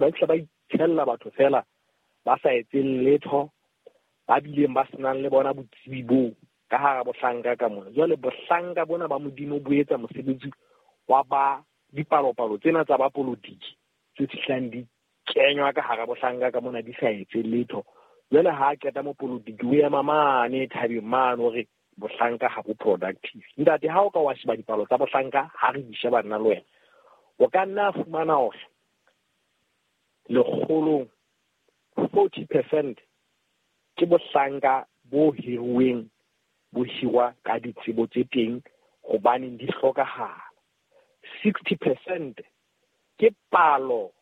Ba fihla ba itshella batho feela ba sa etseng letho, ba bileng ba senang le bona botsebi boo ka hara bohlanka ka mona. Jwale bohlanka bona ba Modimo bo etsa mosebetsi wa ba dipalopalo tsena tsa ba polotiki tse fihlang di kenywa ka hara bohlanka ka mona di sa etse letho. Jwale ha a qeta mopolotiki o ema mane thabeng mane o re bohlanka ha bo productive. Ntate, ha o ka wa sheba dipalo tsa bohlanka, ha re di sheba nna le wena, o ka nna fumana hore lekgolong 40% ke bohlanka bo hiruweng, bo hirwa ka ditsebo tse teng hobaneng di hlokahala. 60% ke palo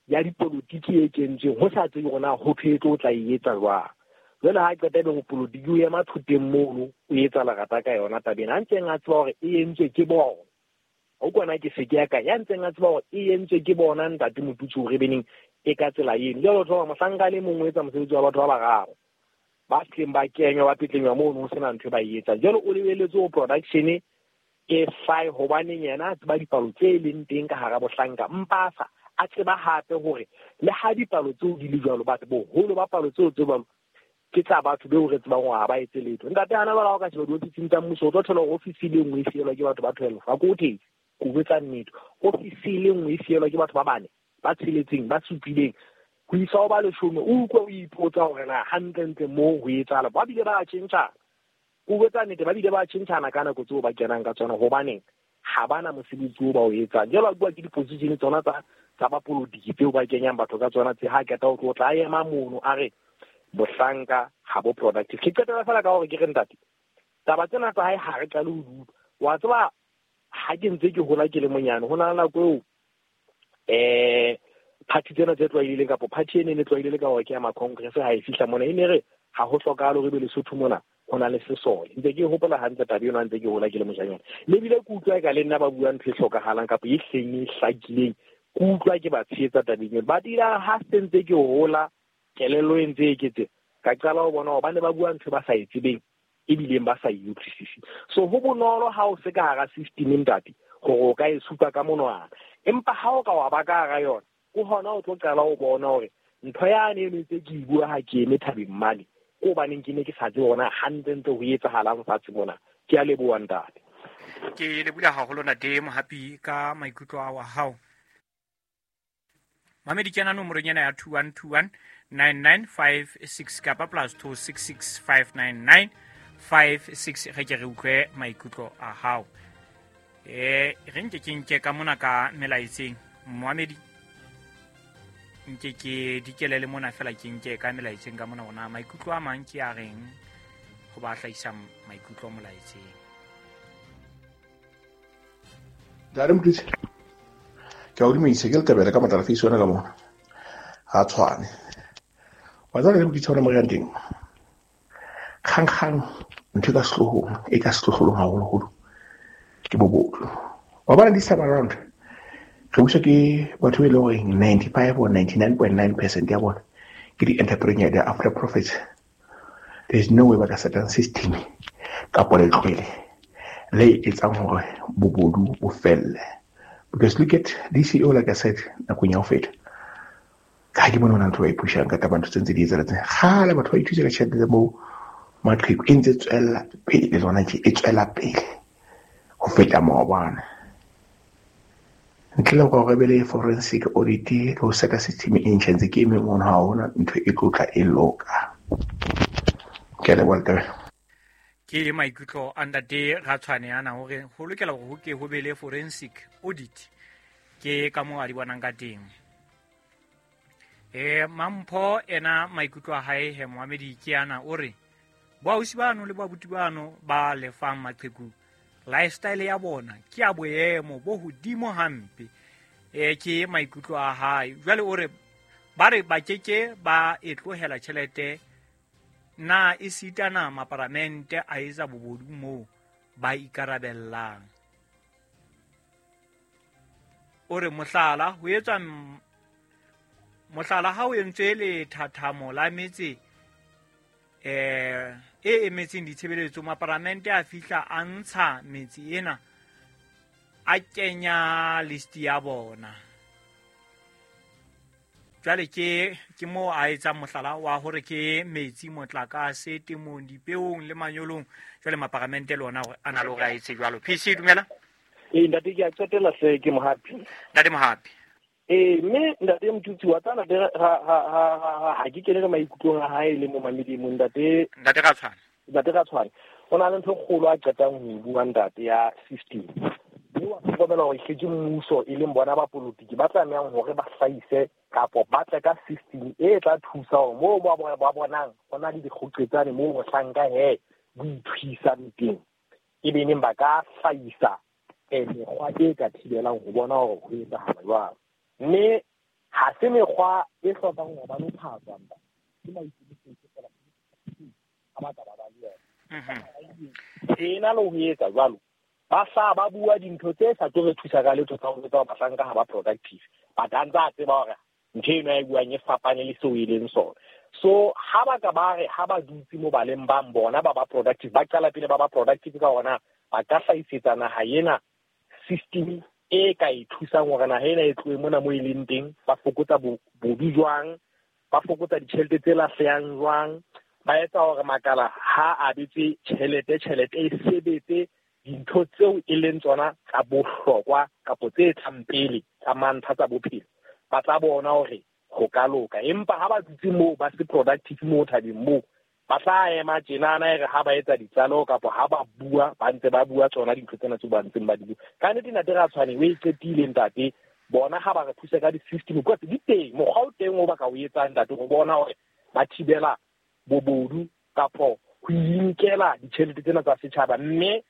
ya dipolotiki e kentsweng ho sa tsebe hore na ho thwe e tlo tla e etsa jwang. Jwale ha qeta ebe mopolotiki o ema thoteng mono o etsa lerata ka yona tabeng, a ntseng a tseba hore e entswe ke bona. O kwana ke se ke ya ka ya ntseng a tseba hore e entswe ke bona ntate Motutsi hore beneng e ka tsela eno. Jwale o thola mohlanka le mongwe o etsa mosebetsi wa batho ba bararo ba tleng ba kenywa ba petlenywa mono ho sena ntho e ba e etsang. Jwale o lebeletse ho production e hlae hobaneng yena a tseba dipalo tse leng teng ka hara bohlanka, mpa a sa a tseba hape hore le ha dipalo tseo di le jwalo, batho boholo ba palo tseo tse jwalo ke tsa batho beo re tsebang hore ha ba etse letho. Ntate, hana jwale ha o ka sheba diofising tsa mmuso, o tlo thola hore ofisi e le nngwe e fielwa ke batho ba 12. Ha ke o thetse, ke o botsa nnete. Ofisi e le nngwe e fielwa ke batho ba bane, ba tsheletseng, ba supileng, ho isa ho ba 10. O utlwe o ipotsa hore na hantlentle moo ho etsahala. Ba bile ba tjhentjhana. O botsa nnete, ba bile ba tjhentjhana ka nako tseo ba kenang ka tsona, hobaneng ha bana mosebetsi o ba o etsang. Jwale ba bua ke di-position tsona tsa bapolotiki tseo ba kenyang batho ka tsona tse. Ha qeta ho tlo tla ema mono a re bohlanka ha bo productive. Ke qetela fela ka hore ke re ntate, taba tsena tsa hae ha re qale ho di utlwa. Wa tseba ha ke ntse ke hola ke le monyane, ho na le nako eo party tsena tse tlwaelehileng kapa party ene e tlwaelehile ka hore ke ya ma-congress, ha e fihla mona e ne re ha ho hlokahale hore ebe Lesotho mona ho na le sesole. Ntse ke hopola hantle taba eno ha ntse ke hola ke le moshanyana. Le bile ke utlwa eka le nna ba bua ntho e hlokahalang kapa e hleng e hlakileng, ke utlwa ke ba tshehetsa tabeng eno. But ila ha se ntse ke hola, kelello e ntse e eketseha, ka qala ho bona hore ba ne ba bua ntho ba sa e tsebeng ebileng ba sa e utlwisise. So ho bonolo ha o se ka hara system ntate hore o ka e supa ka monwana, empa ha o ka wa ba ka hara yona, ke hona o tlo qala ho bona hore ntho yane eno ntse ke e bua ha ke eme thabeng mane, ke hobaneng ke ne ke sa tsebe hore na hantlentle ho etsahalang fatshe mona. Ke a leboha ntate. Ke lebohile haholo ntate Mohapi ka maikutlo a wa hao. Mamedi kena nomorong ena ya 21219956 kapa plus 26659956 ge ke re utlwe maikutlo a hao. Re nke ke nke ka mona ka melaetseng moamedi, nke ke dikelele mona fela ke nke ka melaetseng ka mona ona maikutlo a mang ke a reng ho ba hlahisang maikutlo molaetseng. Ntate Motutsi, ke a o dumedisa, ke letebele ka matla face yona ka mona. Ha tshwane. Wa tseba le Motutsi hona mo re yang teng. Kgang-kgang ntho e ka sehlohong, e ka sehlohlolong haholoholo ke bobodu. Wa bona this time around re buswa ke batho ba e leng hore 95 or 99.9% ya bona ke di-entrepreneur, they are after profits. There is no way ba ka setang system kapa letlwele le etsang hore bobodu bo felle. Because look at DCO, like I said, nakong ya ho feta. Ka ha ke bone hona ntho ba e pushang ka taba ntho tse ntse di etsahala. Kgale batho ba ithusa ka tjhelete tsa bo maqheku e ntse tswella pele tsona tje, e tswela pele ho feta maobane. Ntle le hore re be le forensic audit le ho seta system e ntjha ntse ke eme mono, ha hona ntho e tlo tla e loka. Ke a leboha Letebele. Ke maikutlo a ntate Ratshwane ana hore ho lokela hore ho ke ho be le forensic audit, ke ka moo a di bonang ka teng. Mampho ena maikutlo a hae he moamedi ke ana, o re boausi bano le babuti bano ba lefang maqheku lifestyle ya bona ke ya boemo bo hodimo hampe. Ke maikutlo a hae. Jwale o re ba re ba keke ba e tlohela tjhelete na e sitana maparamente a etsa bobodu moo ba ikarabellang. O re mohlala ho etswa mohlala ha o entswe lethathamo la metse e emetseng ditshebeletso, maparamente a fihla a ntsha metse ena a kenya list ya bona. Jwale ke moo a etsang mohlala wa hore ke metsi, motlakase, temong, dipeong le manyolong. Jwale maparamente le ona a na le hore a etse jwalo. PC dumela. Ntate ke a qetela hle, ke Mohapi. Ntate Mohapi. Mme ntate Motutsi wa tsana ha ke kene ka maikutlong a hae le mo mamedimo ntate. Ntate Ratshwane. Ntate Ratshwane. O na le ntho e kgolo a qetang ho e bua ntate ya system. Mme wa hlokomela hore ke mmuso e leng bona ba politiki ba tlamehang hore ba hlahise kapo ba tle ka system e tla thusa hore moo ba bonang ho na le dikgoqetsane moo mohlanka he bo ithuisang teng. E be neng ba ka hlahisa mekgwa e ka thibelang ho bona hore ho etsahala jwang. Mme ha se mekgwa e hlokang hore ba lo phatswa ntate. Ke maikemisetso fela a ba ka ba ba le yona. Ena le ho etsa jwalo. Ba sa ba bua dintho tse sa tlo re thusa ka letho tsa ho etsa bahlanka ha ba productive. But a ntse a tseba hore ntho eno a e buang e fapane le seo e leng sona. So ha ba ka ba re ha ba dutse mo baleng bang bona ba ba productive, ba qala pele ba ba productive ka hona ba ka hlahisetsa naha ena system e ka e thusang hore naha ena e tlohe mona mo e leng teng, ba fokotsa bodu jwang, ba fokotsa ditjhelete tse lahlehang jwang, ba etsa hore makala ha a abetse tjhelete, tjhelete e sebetse dintho tseo e leng tsona tsa bohlokwa kapo tse tlang pele tsa mantlha tsa bophelo. Ba tla bona hore ho ka loka. Empa ha ba dutse moo ba se productive moo thabeng moo, ba tla ema tjenana e re ha ba etsa ditlaleho kapo ha ba bua, ba ntse ba bua tsona dintho tsena tseo ba ntseng ba di bua. Ka nnete ntate Ratshwane o e qetile ntate, bona ha ba re thusa ka di-system, because di teng, mokgwa o teng o ba ka o etsang ntate ho bona hore ba thibela bobodu kapo ho inkela ditjhelete tsena tsa setjhaba. Mme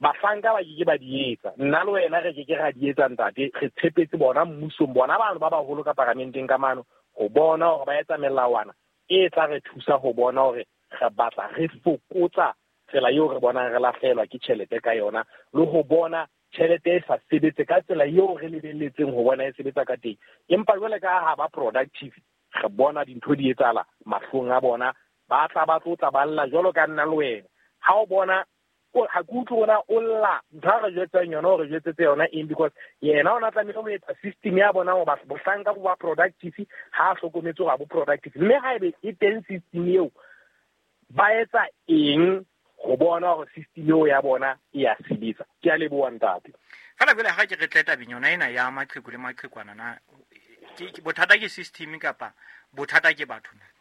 bahlanka ba ke ba di etsa, nna le wena re ke ke ra di etsa ntate, re tshepetse bona mmusong, bona bano ba baholo ka paramenteng ka mano ho bona hore ba etsa melawana e tla re thusa ho bona hore re batla re fokotsa tsela eo re bonang re lahlehelwa ke tjhelete ka yona, le ho bona tjhelete e sa sebetse ka tsela eo re lebelletseng ho bona e sebetsa ka teng. Empa jwale ka ha ba productive, re bona dintho di etsahala mahlong a bona, ba tla ba tlotla ba lla jwalo ka nna le wena. Ha o bona ha ke utlwe ona o lla ntho a re jwetsang yona, o re jwetsetse yona eng, because yena o na tlamehile ho etsa system ya bona hoba bohlanka bo ba productive, ha a hlokometse hore ha bo productive. Mme haebe e teng system eo, ba etsa eng ho bona hore system eo ya bona e ya sebetsa? Ke a leboha ntate. Fela jwale ha ke re tle tabeng yona ena ya maqheku le maqhekwana na, ke bothata ke system kapa bothata ke batho na?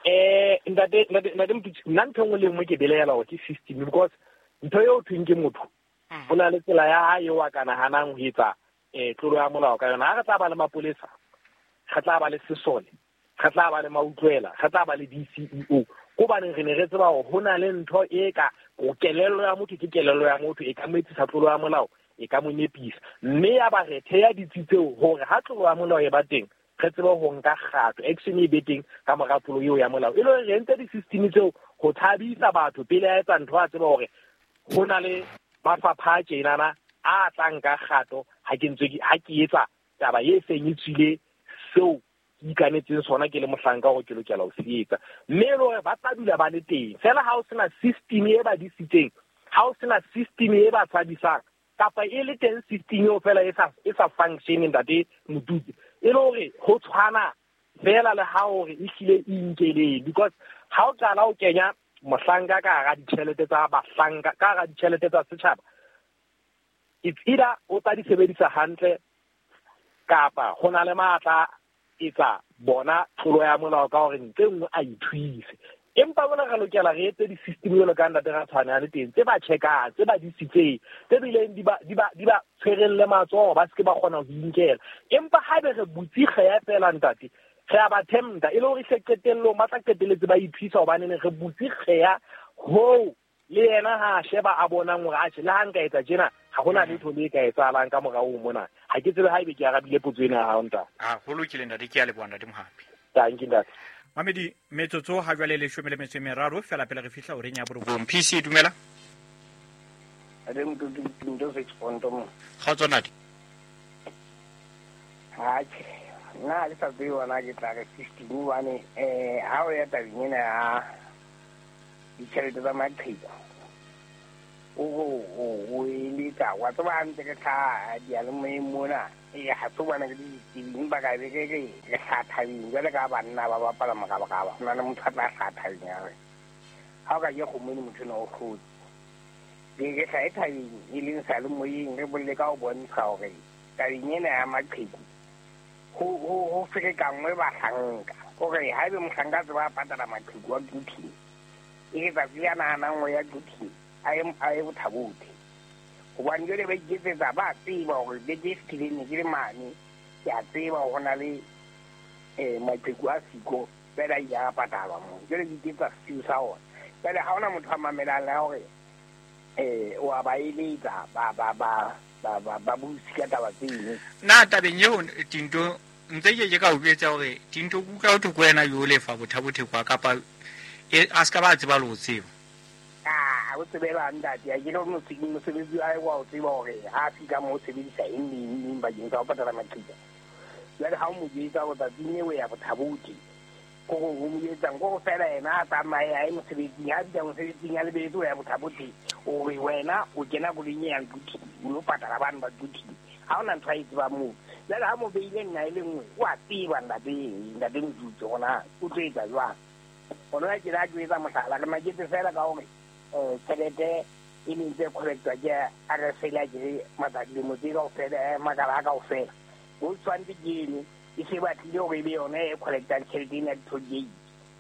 Ntate, ntate Motutsi, nna ntho e nngwe le nngwe ke belaela hore ke system, because ntho eo thweng ke motho, ho na le tsela ya hae eo a ka nahanang ho etsa tlolo ya molao ka yona. Ha re tla ba le mapolesa, re tla ba le sesole, re tla ba le mautlwela, re tla ba le DCEO. Hobaneng re ne re tseba hore ho na le ntho e ka kelello ya motho, ke kelello ya motho e ka mo etsisa tlolo ya molao, e ka mo nepisa. Mme ya ba re theha ditsi tseo hore ha tlolo ya molao e ba teng, re tsebe ho nka kgato, action e be teng ka mora tlolo eo ya molao. E le hore re entse di-system tseo ho thabisa batho pele a etsa ntho, a tseba hore ho na le mafapha a tjenana a tla nka kgato ha ke ntse ha ke etsa taba e seng e tswile seo ke ikanetseng sona ke le mohlanka hore ke lokela ho se etsa. Mme e le hore ba tla dula ba le teng. Feela ha o sena system e ba disitseng, ha o sena system e ba tshabisang, kapa e le teng system eo fela e sa function ntate Motutsi, e le hore ho tshwana fela le ha hore e hlile e inkeleng. Because ha o qala o kenya mohlanka ka hara ditjhelete tsa bahlanka, ka hara ditjhelete tsa setjhaba, it's either o tla di sebedisa hantle kapa ho na le matla etsa bona tlolo ya molao ka hore ntse nngwe a ithuise. Empa bona re lokela re etse di-system jwalo ka ntate Ratshwane a le teng, tse ba check-ang, tse ba disitseng, tse bileng di ba tshwereng le matsoho, ba se ke ba kgona ho inkela. Empa haebe re butse kgeya fela ntate, re a ba tempta, e le hore hle qetellong ba tla qetelletse ba ithuisa hobane re butse kgeya hoo le yena ha a sheba a bonang hore atjhe, le ha nka etsa tjena, ha hona letho le ka etsahalang ka morao mona. Ha ke tsebe haebe ke arabile potso ena ya hao ntate. Ho lokile ntate, ke a leboha ntate Mohapi. Thank you ntate. Mamedi, metsotso ha jwale 13 fela pele re fihla horeng ya 9. PC dumela. Ade motho ntho se tsponto mo. Kgotso ntate. Ha ke nna le sa tsebe ona ke tla re system hobane ha o ya tabeng ena ya ditjhelete tsa maqheku, o eletsa wa tseba hantle ke tlhaha diyalemoyeng mona. Ha se bona ke ditsebi, empa ka be ke re re hlathabeng jwale ka banna ba bapala morabaraba. Ho na le motho a tla hlathabeng a re ha o ka ke kgomong motho ena o hlotse. Ke re hlahe thabeng e leng sa le moyeng, re bolele ka ho bontsha hore tabeng ena ya maqheku ho ferekanngwe bahlanka. Hore haebe mohlanka a tseba a patala maqheku a Quthing, e re tsatsi a nahanang ho ya Quthing a ye Bothabothe. Hobane jwale ba iketsetsa, ba tseba hore beke e fetileng ne ke le mane, ke a tseba hore ho na le maqheku a siko jwale a ile a patalwa moo. Jwale ke iketsa sesiu sa ona. Jwale ha hona motho a mamelang le hore wa ba eletsa ba busi ka taba tseno. Na tabeng eo Tinto ntse ke ka o jwetsa hore Tinto ke utlwa ho thwe ke wena yo lefa Bothabothe kwa kapa a se ka ba tseba le ho tseba. Ah, o tsebela ntate, a ke le mosebetsi wa hae wa o tseba hore ha a fihla moo o sebedisa eng le eng le eng bakeng sa ho patala maqheka. Jwale ha o mo jwetsa hore tsatsing leo o ya Bothabothe, kore o mo jwetsang kore fela yena a tsamaye a ye mosebetsing, ha fihla mosebetsing a lebeletse ho ya Bothabothe, o re wena o kena koloing e yang Quthing, o lo patala bano ba Quthing. Ha hona ntho a e tsebang moo. Jwale ha mo beile nna e le nngwe, o a tseba ntate Motutsi hore na o tlo etsa jwang. Hona ke la ke etsa mohlala, re maketse fela ka hore tjhelete e neng tse collectwa ke RSL a ke matsatsi lemo tse kaofela, makala a kaofela. Ho tshwanetse ke eno e se batlile hore e be yona e collectang tjhelete ena ya di-toll gate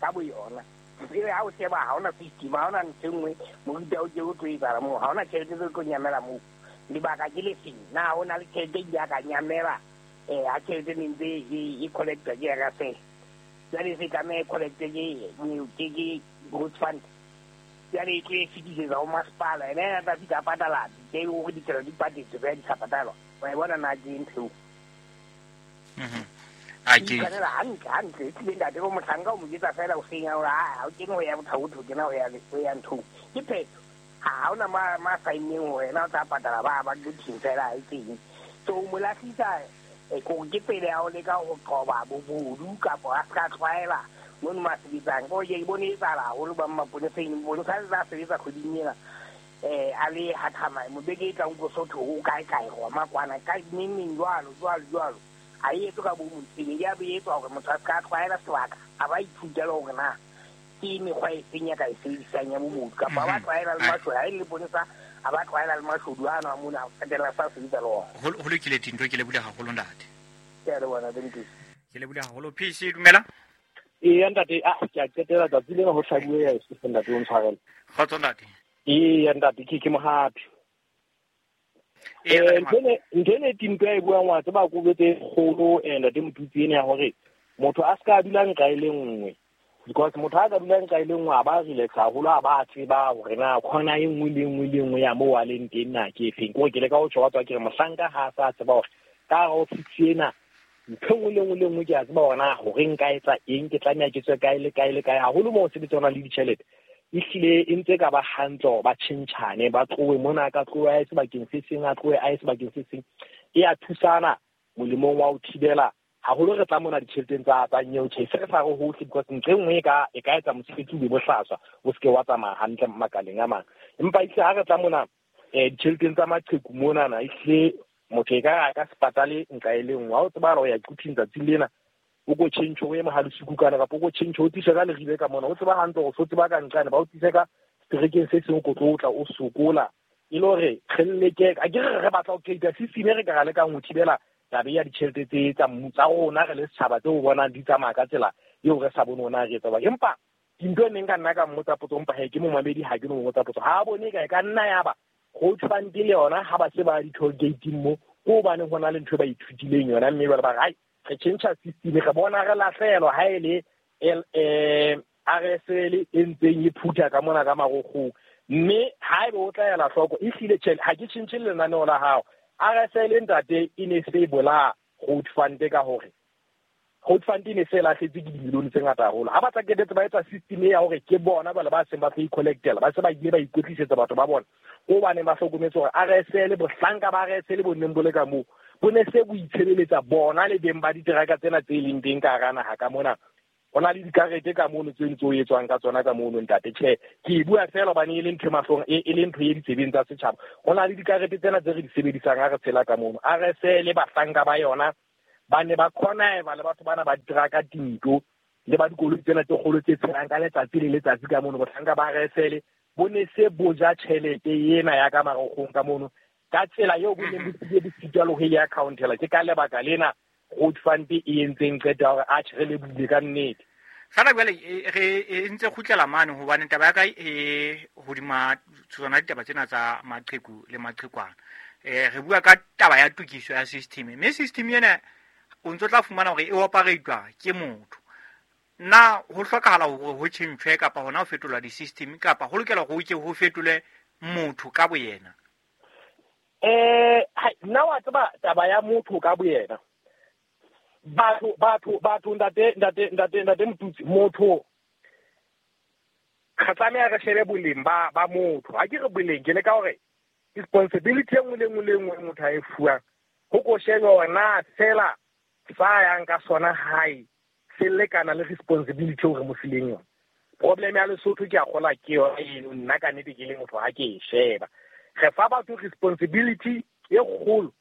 ka bo yona. Ebe ha o sheba ha hona system, ha hona ntho e nngwe moruta o ke o tlo etsahala moo, ha hona tjhelete tse tlo nyamela moo. Lebaka ke le feng? Na ho na le tjhelete e ile ya ka nyamela ha tjhelete ne ntse e collectwa ke RSL? Jwale se tlameha e collectwe ke Growth Fund. Jwale e tlo e fetisetsa ho masepala, ena yena tla fihla a patala ke hore ditsela di patetswe fela di sa patalwa. Wa e bona na ke ntho eo? A ke tshwanela hantle hantle, e tlile ntate bo mohlanka o mo jwetsa fela hoseng a hore ha o kene ho ya Bothabothe, o kena ho ya nthong. Ke phetho. Ha hona ma saenneng hore yena o tla patala ba Quthing fela ha e teng. So o mo lahlisa kore ke tsela ya ho leka ho qoba bobodu kapa a se ka tlwaela mono mo a sebetsang. Kore ke bone e etsahala haholo ba maponeseng, mponesa a ntse a sebetsa kgweding ena a le Hathama, beke e tlang ko Sotho o kae kae Roma kwana ka neng neng jwalo jwalo jwalo. Ha e etswe ka bomo ntho ya be etswa hore motho a se ka tlwaela sebaka, a ba ithuta le hore na ke mekgwa e feng ya ka e sebedisang ya bobodu, kapa ba tlwaela le mashodu. Ha e le ponesa a ba tlwaela le mashodu ano a mona, a qetella sa sebetsa le ona. Ho lokile Tinto, ke lebohile haholo ntate. Ke a leboha ntate Motutsi. Ke lebohile haholo. PC dumela. Eya ntate, ke a qetela tsatsi lena ho hlabuwe ya se ntate o ntshwarele. Kgotso ntate. Eya ntate, ke mohapi. Ntho ene Tinto ya e buang wa tseba kobetse e kgolo ntate Motutsi ene ya hore motho a ska dula nqa e le nngwe. Because motho a ka dula nqa e le nngwe a ba relax haholo, a ba tseba hore na khona e nngwe le nngwe le nngwe ya moo a leng teng na ke efeng. Kore ke leka ho tjho wa tswa ke re mohlanka ha a sa tseba hore ka hara ofisi ena ntho e nngwe le nngwe le nngwe ke a tseba hore na hore nka etsa eng, ke tlameha ke tswe kae le kae le kae. Haholo moo ho sebetsa hona le ditjhelete, ehlile e ntse ka ba hantle hore ba tjhentjhane, ba tlohe mona, ka tlohe a ye sebakeng se seng, a tlohe a ye sebakeng se seng. E a thusana molemong wa ho thibela haholo re tla mona ditjheleteng tsa nyeo tjhe, se re sa re hohle, because ntho e nngwe e ka etsa mosebetsi o be bohlaswa, o seke wa tsamaya hantle makaleng a mang. Empa ehlile ha re tla mona ditjheleteng tsa maqheku monana, ehlile motho e ka re a ka se patale nqa e le nngwe. Ha o tseba hore o ya Quthing tsatsing lena, o ko tjhentjhe o ye Mohalesuku kana, kapa o ko tjhentjhe o tlise ka Leribe ka mona, o tseba hantle hore o tseba ka nqane, ba o tlise ka seterekeng se seng, o ko tlo tla o sokola. E le hore re leke, a ke re batla ho create system e re ka ra lekang ho thibela taba ya ditjhelete tse tsa tsa rona re le setjhaba tseo o bonang di tsamaya ka tsela eo re sa bone hore na re etsa jwang. Empa dintho e neng ka nna ka mmotsa potso, empa he ke momamedi, ha ke no mmotsa potso. Ha a bone ka e ka nna ya ba Growth Fund le yona ha ba se ba di-toll gate-ing mo, ke hobane ho na le ntho e ba ithutileng yona, mme jwale ba re, hai, re tjhentjha system, re bona re lahlehelwa ha e le RSL e ntseng e phutha ka mona ka marokgong. Mme haebe o tla ela hloko, ehlile tjhe, ha ke tjhentjhe lenaneo la hao. RSL ntate e ne se bolaya Growth Fund ka hore Growth Fund e ne se lahletse ke dimilione tse ngata haholo. Ha ba tla qetetse ba etsa system ya hore ke bona bale ba seng ba tlo i-collectela, ba se ba ile ba ikwetlisetsa batho ba bona. Ko baneng ba hlokometse hore RSL, bohlanka ba RSL bo neng bo le ka moo, bo ne se bo itshebeletsa bona le beng ba diteraka tsena tse leng teng ka hara naha ka mona. Ho na le dikarete ka mono tse ntse o etswang ka tsona ka mono ntate. Tjhe, ke e bua fela hobane e le ntho e mahlong, e le ntho e ditsebeng tsa setjhaba. Ho na le dikarete tsena tse re di sebedisang ha re tshela ka mono. RSL le bahlanka ba yona ba ne ba connive le batho bana ba diraka tinto le ba dikoloi tsena tse kgolo tse tshelang ka letsatsi le letsatsi ka mono. Bohlanka ba RSL bo ne se bo ja tjhelete ena ya ka marokgong ka mono ka tsela eo bo neng bo sile bo sitwa le ho e accountela. Ke ka lebaka lena road fund e entseng qeto ya hore atjhe re lebohile ka nnete. Fela jwale re e ntse kgutlela mane hobane taba ya ka e hodima tsona ditaba tsena tsa maqheku le maqhekwana. Re bua ka taba ya tokiso ya system, mme system ena o ntso tla fumana hore e operatwa ke motho. Na ho hlokahala hore ho tjhentjhwe kapa hona ho fetolwa di-system, kapa ho lokela hore ho ke ho fetole motho ka boyena? Nna wa tseba taba ya motho ka boyena. Batho ntate Motutsi, motho re tlameha re shebe boleng ba motho. Ha ke re boleng, ke le ka hore responsibility e nngwe le nngwe le nngwe motho a e fuwang, ho ko shebe hore na fela sa yang ka sona hae se lekana le responsibility eo re mo fileng yona. Problem ya Lesotho ke a kgola ke yona eno, nna ka nnete ke le motho ha ke e sheba. Re fa batho responsibility e kgolo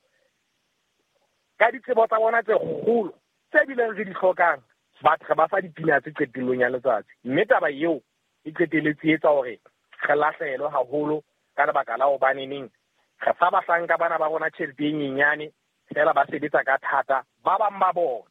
ka ditsebo tsa bona tse kgolo tse bileng re di hlokang, batho re ba fa dipina tse qetellong ya letsatsi. Mme taba eo e qetelletse e etsa hore re lahlehelwe haholo ka lebaka la hobaneneng re fa bahlanka bana ba rona tjhelete e nyenyane fela ba sebetsa ka thata. Ba bang ba bona,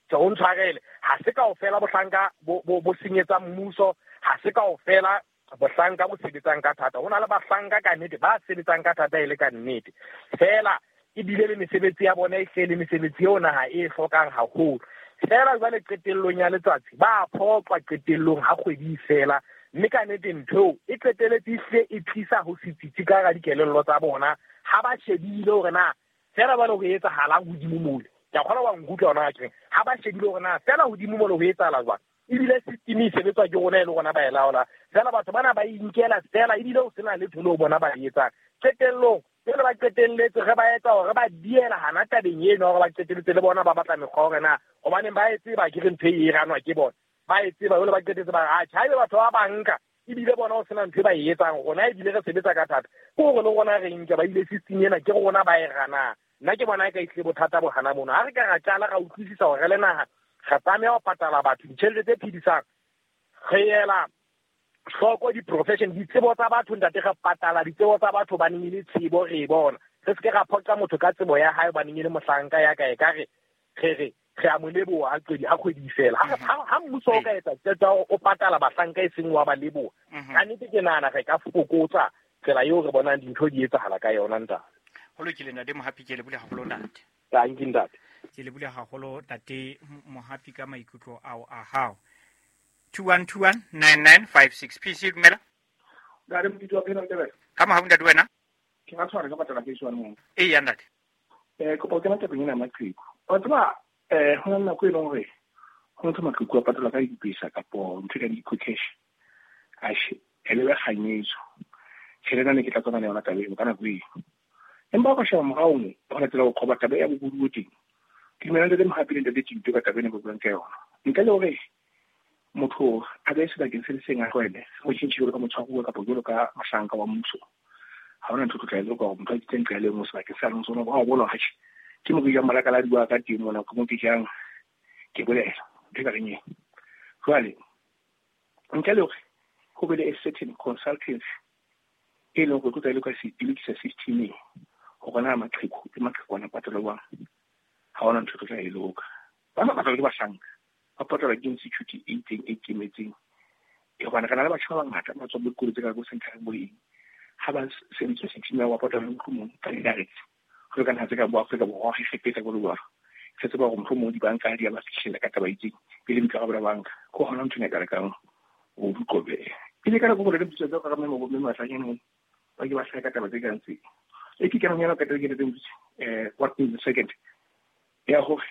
tjhe, o ntshwarele, ha se kaofela bohlanka bo senyetsa mmuso, ha se kaofela bohlanka bo sebetsang ka thata. Ho na le bahlanka ka nnete ba sebetsang ka thata e le ka nnete, fela ebile le mesebetsi ya bona e hle le mesebetsi eo naha e hlokang haholo. Fela jwale qetellong ya letsatsi ba phoqwa qetellong ha kgwedi e fela, mme ka nnete ntho eo e qetelletse ehlile e tlisa ho se tsitsi ka hara dikelello tsa bona. Ha ba shebile hore na fela jwale ho etsahalang hodimo mole, ke a kgolwa wa nkutlwa hona ha ke reng, ha ba shebile hore na fela hodimo mole ho etsahala jwang, ebile system e sebetswa ke rona e le rona ba e laola. Fela batho bana ba inkela fela, ebile ho sena letho leo bona ba e etsang. Qetellong jwale ba qetelletse re ba etsa hore ba diela hana tabeng eno, hore ba qetelletse le bona ba batla mekgwa hore na hobaneng ba e tseba ke re ntho e ranwa ke bona, ba e tseba jwale ba qetelletse ba re atjhe, haebe batho ba banka ebile bona ho sena ntho e ba e etsang, rona ebile re sebetsa ka thata, ke hore le rona re nke ba ile system ena ke rona ba e ranang. Nna ke bona e ka ehlile bothata bo hana mono. Ha re ka ra qala ra utlwisisa hore re le naha re tlameha ho patala batho ditjhelete tse phedisang, re ela hloko di-profession, ditsebo tsa batho ntate, re patala ditsebo tsa batho hobaneng e le tsebo re e bona. Re se ke ra phoqa motho ka tsebo ya hae hobaneng e le mohlanka ya ka, ekare re re re a mo leboha ha kgwedi e fela. Ha mmuso o ka etsa qeto ya hore o patala bahlanka e seng wa ba leboha, ka nnete ke nahana re ka fokotsa tsela eo re bonang dintho di etsahala ka yona ntate. Ho lokile ntate Mohapi, ke lebohile haholo ntate. Thank you ntate. Ke lebohile haholo ntate Mohapi ka maikutlo ao a hao. 21219956. PC dumela. Ntate Motutsi wa phela ntate. Ka mohau ntate wena? Ke ra tshwara ka patala ke swana mo. Ee ya ntate. Kopa o kena tabeng ena ya maqheku. Wa tseba ho na le nako e leng hore ho ntho maqheku a patalwa ka dipesa kapo ntho ka di-eco cash. Atjhe, e le be kganyetso. Tjhelete ena ne ke tla tswana le yona taba eo ka nako eo. Empa o ka sheba morao mo, ho latela ho qoba taba ya bobodu bo teng. Ke dumela ntate Mohapi le ntate Tšito ka taba ena ba buang ka yona. Ntle le hore motho a be sebakeng se le seng a tlwaele, ho tjhentjhe jwalo ka motshwaruwa kapa jwalo ka mohlanka wa mmuso, ha hona ntho e tlo tla e loka hore motho a itseng nqa e le nngwe sebakeng se a leng sona. Hore ha o bona hore atjhe, ke mo ke jang malakaladi wa ka teng mona, ke mo ke jang, ke bolela ntho e ka reng eo. Jwale ntle le hore ho be le a certain consultancy e leng hore e tlo tla e loka e lokisa system e, hore na maqheku le maqhekwana patalwa jwang, ha hona ntho e tlo tla e loka. Ba sa patalwa ke bahlanka, ba patalwa ke institute e itseng e ikemetseng. Hobane re na le batjha ba bangata ba tswang dikolo tse ka bo Central bo eng, ha ba sebedisa system ya ho patala mohlomong ka di-direct, jwalo ka naha tse ka bo Afrika Borwa, Egepeta, jwalo jwalo. Re tseba hore mohlomong dibanka di a ba fihlela ka taba e itseng, pele boikarabelo ba banka. Ke hona ntho ena e ka lekang ho di qobeha. Pele ka nako le mpitsa tsa ka mme mo mme matlanyane mo, ba ke ba hlaha ka taba tse kang tse. E ke kenang yana ka taba ke tse what in the second. Ya hore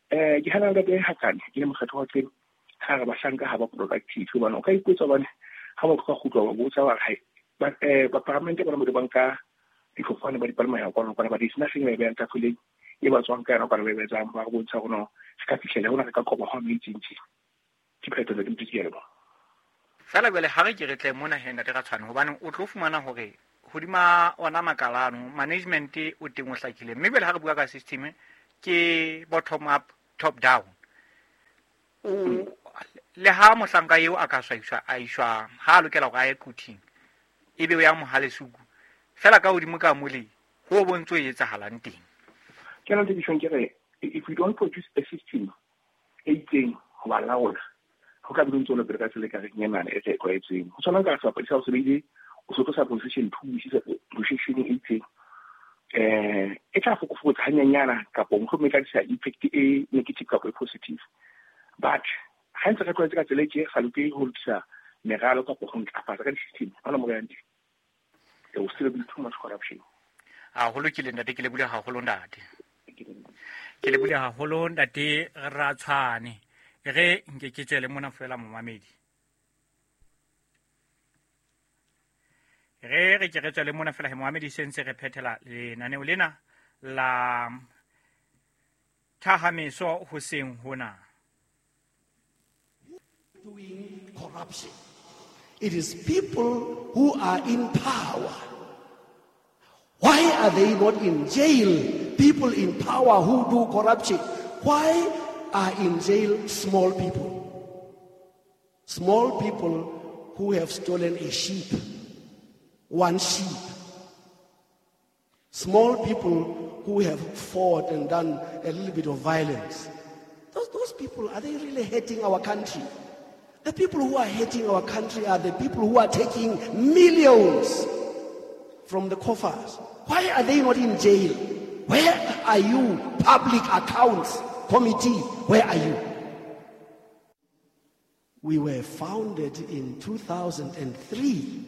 ke hana ntate Hakane ke le mokgatlo wa tsebo, ha re bahlanka ha ba productive, hobane o ka ipotsa hobane ha motho ka kgutlwa wa botsa wa re, hai, ba paramente bona mo di banka difofane ba di palama ya kwana, kwana, ba di sena seng ba e behang tafoleng e ba tswang ka yona, kwana ba e betsang, ba re bontsha hore no, re ka fihlela hona, re ka qoba hwa mo itseng tje. Ke phetho ke ntse ke leboha. Fela jwale ha re ke re tle mona he ntate Ratshwane, hobane o tlo fumana hore hodima ona makalano management o teng o hlakile, mme jwale ha re bua ka system ke bottom up top down. O le ha mohlanka eo a ka swaiswa a iswa ha a lokela hore a ye quthing, ebe o ya Mohalesuku fela ka hodimo ka mole ho bontso e etsahalang teng. Ke na le tshong ke re if we don't produce a system e itseng ho ba laola, ho ka be ntse o le pele ka tsela e ka reng enana e re e tlwaetseng. Ho tshwana ka sebapadi sa ho sebedile o se tlosa position 2 o isa position e itseng, e tla fokofokotsa hanyenyana kapo mohlomong e tla tlisa effect e negative kapo e positive. But ha ntse re tlwaetse ka tsela e tje, sa lokele ho lokisa meralo kapo ho ntlafatsa ka di-system, ha hona mo re yang teng. There will still be too much corruption. Haholo ke le ntate, ke lebohile haholo ntate. Ke lebohile haholo ntate Ratshwane. Re nke ke tswele mona fela momamedi. Re ke re tswele mona fela he momamedi, se ntse re phethela lenaneo lena la thahameso hoseng hona. Doing corruption. It is people who are in power. Why are they not in jail? People in power who do corruption. Why are in jail small people? Small people who have stolen a sheep, one sheep. Small people who have fought and done a little bit of violence. Those people, are they really hating our country? The people who are hating our country are the people who are taking millions from the coffers. Why are they not in jail? Where are you, Public Accounts Committee? Where are you? We were founded in 2003.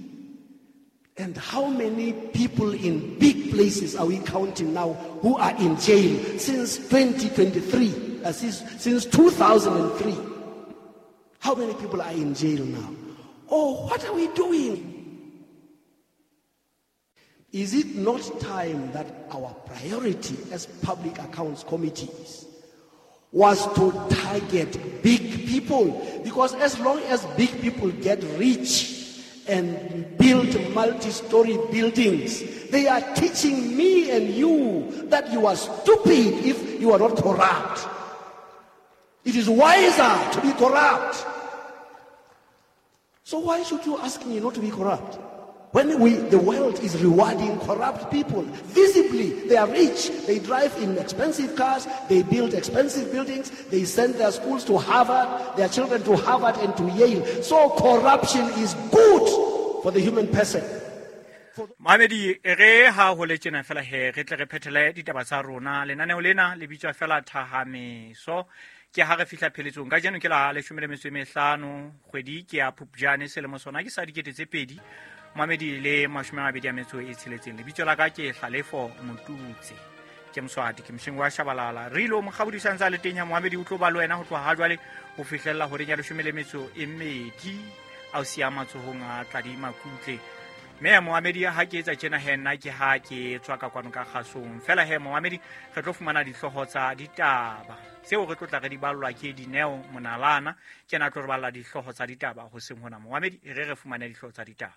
And how many people in big places are we counting now who are in jail since 2023, since 2003? How many people are in jail now? Oh, what are we doing? Is it not time that our priority as public accounts committees was to target big people? Because as long as big people get rich and build multi-story buildings, they are teaching me and you that you are stupid if you are not corrupt. It is wiser to be corrupt. So why should you ask me not to be corrupt? When the world is rewarding corrupt people, visibly they are rich, they drive in expensive cars, they build expensive buildings, they send their schools to Harvard, their children to Harvard and to Yale. So corruption is good for the human person. Mamedi, re ha ho le tjena fela he re tle re phethele ditaba tsa rona. Lenaneo lena le bitswa fela Thahameso. Ke ha re fihla pheletsong kajeno ke la 15 kgwedi ke ya Phupjane selemo sona ke sa 2026 26. Lebitso la ka ke Hlalefo Motutse, ke Moswati, ke mosheng wa Shabalala. Re ilo mokgabodisang tsa le teng ya Mohamedi o tlo ba le wena ho tloha ha jwale ho fihlella horeng ya 12 a o siya matsohong a Tladi Makutle. Mme ya Mohamedi ha ke etsa tjena he nna ke ha ke tswa ka kwano ka kgasong. Fela he Mohamedi re tlo fumana dihlooho tsa ditaba tseo re tlo tla re di ballwa ke Dineo Monalana. Ke na tlo re balla dihlooho tsa ditaba hoseng hona. Mohamedi re fumane dihlooho tsa ditaba.